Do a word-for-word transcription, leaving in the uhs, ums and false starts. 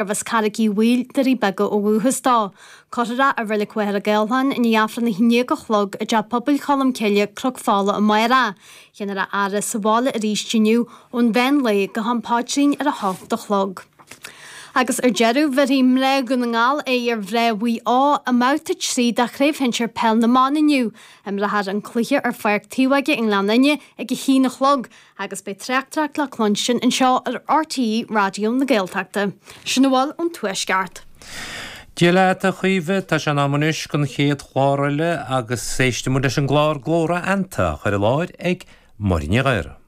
gurbh as Carraig Uí Bhaoill, Doirí Beaga ó dhúchas dó. Cuirfear é i Reilig Mhachaire Gathlán i ndiaidh Aifreann a haon déag a chlog i dTeach Pobail Cholm Cille, Cnoc Fola amárach. Déanfar a fhaire sa bhaile arís inniu ón mheán lae go ham paidrín ar a hocht a chlog. Agus ar deireadh, bhéarfaidh mná Dhún na nGall aghaidh ar mhná Mhaigh Eo i mbabhta trí de Chraobh Shinsir Peil na mBan inniu. Imreofar an cluiche ar Pháirc Taobh Óige i nGleann Fhinne ag a haon a chlog agus beidh tráchtaireacht le cluinstin anseo ar RTÉ Raidió na Gaeltachta. Sin a bhfuil ón Tuaisceart. Dia leat a Chaoimhe, tá sé in am anois don chéad chlár eile agus éistfidh muid leis an gclár Glór Fheannta á chur i láthair ag Máire Ní Ghadhra.